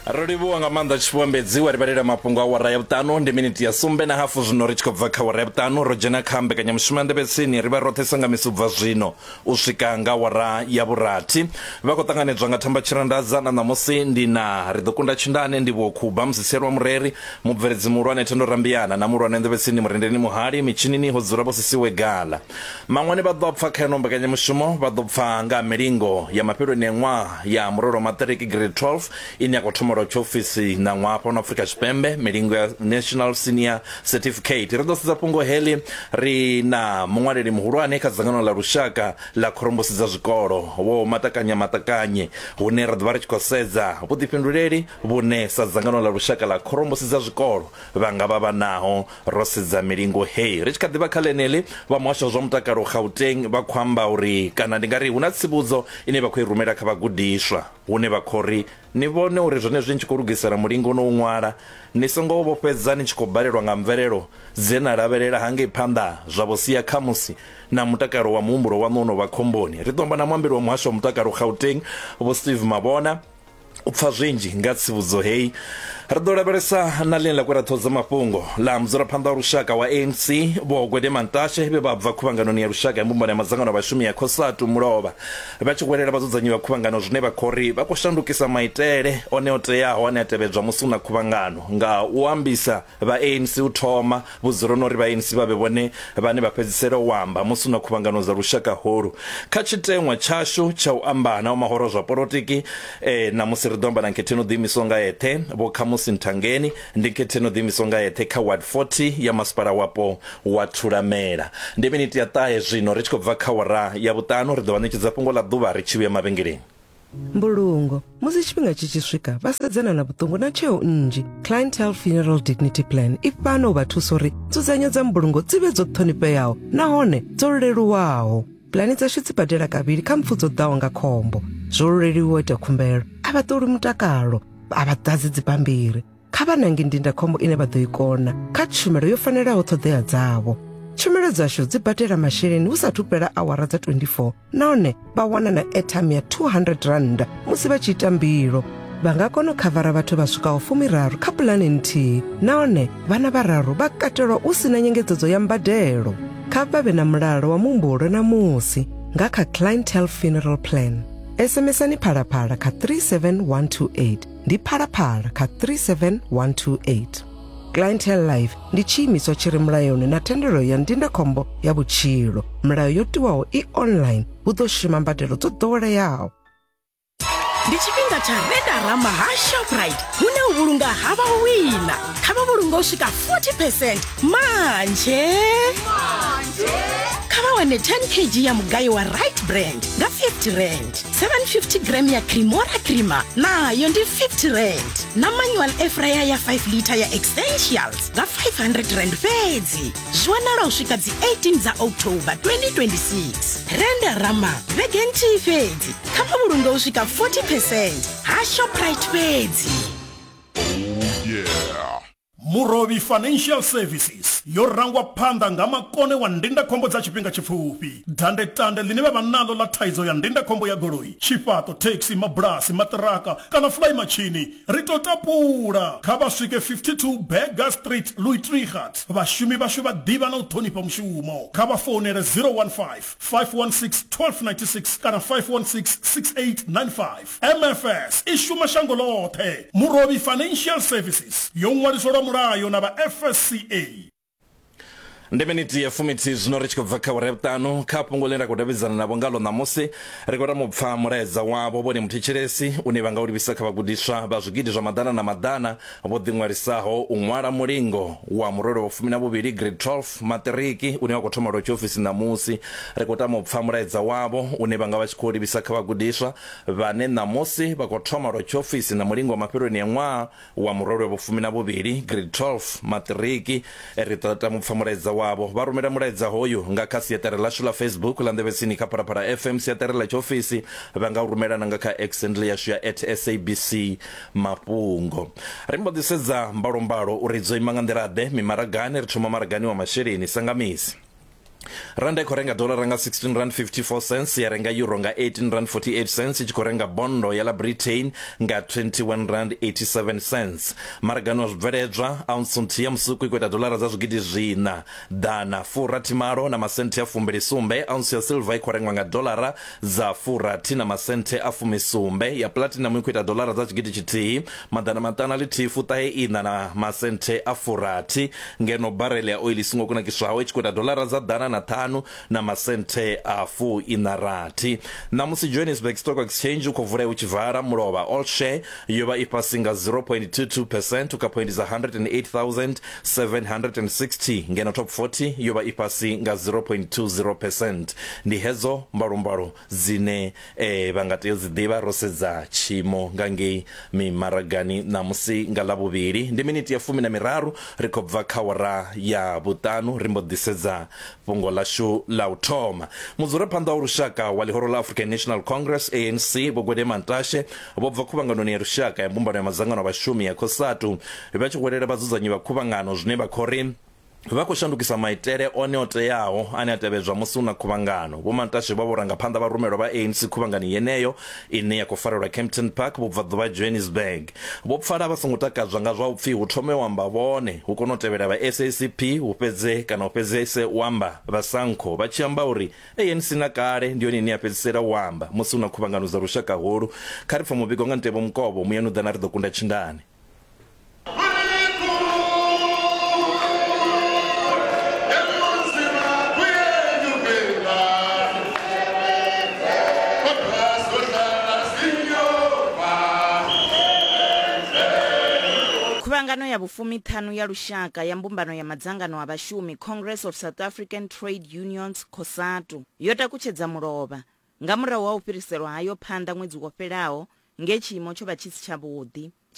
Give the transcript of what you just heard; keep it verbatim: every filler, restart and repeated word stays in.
Ro livhuwa nga maanḓa Tshifhiwa wa ri vhalela mafhungo a wara ya vhuṱanu. Ndi miniti ya sumbe na hafu zwino ri tshi khou bva kha wara ya vhuṱanu, ro dzhena kha mbekanyamushumo ya Nḓevhetsini. Ri vha roṱhe sanga misi u bva zwino u swika nga wara ya vhurathi. Vha khou ṱanganedzwa nga Thamba Tshirandadza na ṋamusi ndi na ri ḓo kunda tshindane ndi vho Khuba Musisielwa Mureri, mubveledzi muhulwane Thendo Rambiana na muhulwane Nḓevhetsini Murendeni Muhali. Mitshinini ho dzula vho Sisiwe Gala. Maṅwane vha ḓo pfa kha ino mbekanyamushumo, vha ḓo pfa nga milingo ya mafheloni a ṅwaha ya murole wa maṱiriki grade twelve ine ya khou thoma lwa tshiofisi na ṅwaha fhano Afrika Tshipembe, milingo ya National Senior Certificate. Ri ḓo sedza fhungo heḽi ri na muṅwaleli muhulwane kha dzangano ḽa lushaka ḽa khorombusi dza zwikolo Vho Matakanya Matakanye, hune ra ḓo vha ri tshi khou sedza vhuḓifhinduleli vhune sa dzangano ḽa lushaka ḽa khorombusi dza zwikolo vha nga vha vha naho ro sedza milingo heyi. Ri tshi kha ḓivha kha ḽeneḽi, vha muhasho wa zwa mutakalo Gauteng vha khou amba uri, kana ndi nga ri hu na tsivhudzo ine vha khou i rumela kha vhagudiswa, hune vha khou ri ni vhone uri zwenezwi ni tshi khou lugisela mulingo no u ṅwala ni songo vho fhedza ni tshi khou balelwa nga mvelelo dze na lavhelela hangei phanḓa, zwa vho sia khamusi na mutakalo wa muhumbulo waṋu no vha khomboni. Ri ḓo amba na muambeli wa muhasho wa mutakalo Gauteng Vho Steve Mabona u pfa zwinzhi nga tsivhudzo heyi. Ri ḓo lavhelesa na ḽine ḽa kwera ṱhoho dza mafhungo ḽa mudzulaphanḓa wa lushaka wa A N C Vho Gwede Mantashe vhe vha bva khuvhanganoni ya lushaka ya mbumbano ya madzangano a vhashumi ya COSATU mulovha vha tshi hwelela vhadzudzanyi vha khuvhangano zwine vha khou ri vha khou shandukisa maitele one o teaho ane a tevhedzwa musi hu na khuvhangano nga u ambisa vha A N C u thoma vhudzuloni uri vha A N C vha vhe vhone vhane vha fhedzisela u amba musi hu na khuvhangano dza lushaka holu. Kha tshiteṅwa tshashu tsha u amba na mahoro zwa polotiki eh, na musi ri ḓo amba na nkhetheni o ḓiimisaho nga eṱhe Vho Khamusi Nthangeni, ndi nkhetheni o ḓiimisaho nga eṱhe kha ward forty ya masipala wapo wa Thulamela. Ndi miniti ya ṱahe zwino ri tshi khou bva kha wara ya vhuṱanu. Ri ḓo vha ṋetshedza fhungo ḽa ḓuvha ri tshi vhuya mavhengeleni. Mbulungo musi tshifhinga tshi tshi swika vha sedzana na vhuṱungu na tsheo nnzhi. Clientele Funeral Dignity Plan i fhano u vha thusa uri nzudzanyo dza mbulungo dzi vhe dzo ṱhonifheaho nahone dzo leluwaho. Pulani dzashu dzi badela kavhili kha mpfu dzo ḓaho nga khombo. Zwo leluwa u ita khumbelo, a vha ṱoli mutakalo, a vha ḓadzi dzibammbiri. Kha vha nange ndindakhombo ine vha ḓo i kona kha tshumelo yo fanelaho ṱhoḓea dzavho. Tshumelo dzashu dzi badela masheleni hu sathu fhela awara dza twenty-four nahone vha wana na airtime ya two hundred rand musi vha tshi ita mbilo. Vha nga kona u khavara vhathu vha swikaho fumiraru kha pulane nthihi nahone vhana vhararu vha katelwa u sina nyengedzedzo ya mbadelo. Kha vha vhe na mulalo wa muhumbulo na musi nga kha Clientele Funeral Plan. SMSani phalaphala kha three seven one two eight, ndi phalaphala kha three seven one two eight. Clientele Life ndi tshiimiswa tshi re mulayoni na thendelo ya ndindakhombo ya vhutshilo. Milayo yo tiwaho i online, hu ḓo shuma mbadelo dzo ḓoweleaho. Ndi tshifhinga tsha Redarama ha Shoprite, hune u vhulunga ha vha u wina. Kha vha vhulunga u swika forty percent manje. Kha vha wane ten kg ya mugayo wa Right Brand nga fifty rand, seven fifty gram ya Cremora creamer nayo ndi fifty rand, na manual air fryer ya five liter ya Essentials nga five hundred rand fhedzi. Zwi wanala u swika dzi eighteen dza October twenty twenty-six. Renderama vhege nthihi fhedzi. Kha vha vhulunge u swika forty percent ha Shoprite fhedzi. Oh yeah. Murovhi Financial Services yo rangwa phanḓa nga makone wa ndindakhombo dza tshifhinga tshipfufhi. Dandetande ḽine vha vha naḽo ḽa thaidzo ya ndindakhombo ya goloi, tshifhaṱo, taxi, mabulasi, maṱiraka kana fly machine, ri to tapula. Kha vha swike fifty-two Berger Street, Louis Trichardt. Vhashumi vhashu vha ḓivha na u ṱhonifha mushumo. Kha vha founele zero one five, five one six, twelve ninety-six kana five one six, six eight nine five. M F S i shuma shango ḽoṱhe. Murovhi Financial Services yo ṅwaliswa lwa mulayo na vha F S C A. Ndi miniti ya fumithi zwino ri tshi khou bva kha awara ya vhuṱanu. Kha fhungo ḽine ra khou davhidzana navho ngalo ṋamusi, ri khou tama u pfa mulaedza wavho vhone muthetshelesi une vha nga u livhisa kha vhagudiswa vha zwigidi zwa maḓana na maḓana vho ḓiṅwalisaho u ṅwala mulingo wa murole wa fumi na vhuvhili grade twelve maṱiriki une wa khou thoma lwa tshiofisi ṋamusi. Ri khou tama u pfa mulaedza wavho une vha nga vha tshi khou livhisa kha vhagudiswa vhane ṋamusi vha khou thoma lwa tshiofisi na mulingo wa mafheloni a ṅwaha wa murole wa fumi na vhuvhili grade twelve maṱiriki. Ri ṱoḓa tama u pfa mulaedza wavho. Vha rumela mulaedza hoyu nga kha siaṱari ḽashu ḽa Facebook ḽa Nḓevhetsini kha Phalaphala F M, siaṱari ḽa tshiofisi vha nga u rumela na nga kha X handle yashu ya at S A B C Mafhungo. Ri mbo ḓi sedza mbalombalo uri dzo ima nga nḓila ḓe mimaragani. Ri thoma maragani wa masheleni sangamisi. Randa i khou renga dolara nga sixteen rand fifty-four cents, ya renga euro nga eighteen rand forty-eight cents, i tshi khou renga bondo ya la Britain nga twenty-one rand eighty-seven cents. Maragano wa zwibveledzwa, ounce nthihi ya musuku i khou ita dolara dza zwigidi zwiṋa ḓana furathi malo na masenthe a fumbili sumbe. Ounce ya silver i khou rengwa nga dolara dza furathi na masenthe a fumisumbe. Ya platinum i khou ita dolara dza tshigidi tshithihi maḓana maṱanu a ḽithihi fuṱahe iṋa na masenthe a furathi, ngeno barele ya oil i songo kunakiswaho i tshi khou ita dolara dza ḓana na ṱhanu na masenthe a fu ina rathi. Ṋamusi Johannesburg Stock Exchange u khou vula u tshi vala mulovha, all share yo vha i fhasi nga zero point two two percent u kha point dza one hundred and eight thousand seven hundred and sixty, ngeno top forty yo vha i fhasi nga zero point two zero percent. Ndi hedzo mbalombalo dzine eh, vha nga tea u dzi ḓivha ro sedza tshiimo nga ngei mimaragani ṋamusi nga ḽavhuvhili. Ndi miniti ya fumi na miraru ri khou bva kha wara ya vhuṱanu, ri mbo ḓi sedza fhungo ḽashu ḽa u thoma. Mudzulaphanḓa wa lushaka wa ḽihoro ḽa African National Congress A N C Vho Gwede Mantashe vho bva khuvhanganoni ya lushaka ya mbumbano ya madzangano a vhashumi ya COSATU vha tshi hwelela vhadzudzanyi vha khuvhangano zwine vha khou ri vha khou shandukisa maitele one o teaho ane a tevhedzwa musi hu na khuvhangano. Vho Mantashe vha vho rangaphanḓa vha rumelwa vha A N C khuvhangano yeneyo ine ya khou farelwa Kempton Park vhubvaḓuvha Johannesburg. Vho pfala vha songo takadzwa nga zwa u pfi hu thome u amba vhone, hu kone u tevhela vha S A C P, hu fhedze kana u fhedzese u amba vha SANCO, vha tshi amba uri A N C na kale ndi yone ine ya fhedzisela u amba musi hu na khuvhangano dza lushaka holu. Kha ri pfa muvhigo nga Ntebo Mukovho, muyani u ḓa na ri ḓo kunda tshindani. Khuvhangano ya vhufumiṱhanu ya lushaka ya mbumbano ya madzangano a vhashumi Congress of South African Trade Unions COSATU yo takutshedza mulovha nga murahu ha u fhiriselwa hayo phanḓa ṅwedzi wo fhelaho nge tshiimo tsho vha tshi si tshavhuḓi.